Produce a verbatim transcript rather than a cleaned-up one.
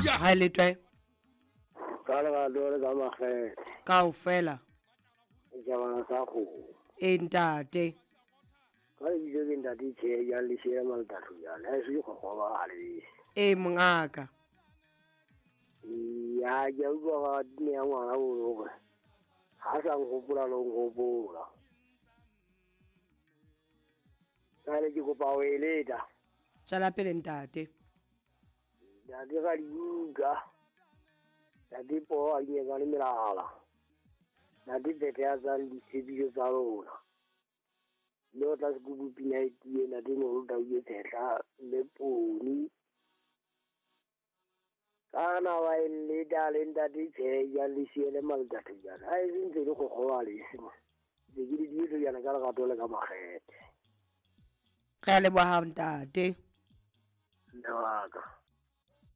Ha le twe. Ka lerato le ka makgethe. Kaofela. Setjhabana sa kgomo. E ntate. Ka lebitso ke ntate Tjhe ya Lesea Maltatso jana. Ha se kgokgoba ha le. E mongaka. Ya ke utlwa ga ne ya ngwana o hore ha sa nkgopola le nkgopola. Ka le ke kopa ho eleta. Tswela pele ntate. Ntate ga dibuka. Ntate po a nyeka le melala. Ntate pete ya tsang ditshepiso tsa rona. Le o tla sekubu pina e tie ntate moholo tau e tshehla le poni. Kana wa eleta le ntate Tjhe ya Lesea le Maltatso jana. Ha e se ntse le kgokgoba le se. Ke ke di ditso jana ka lerato le ka makgethe. Re a leboha ntate. Nna wa ka.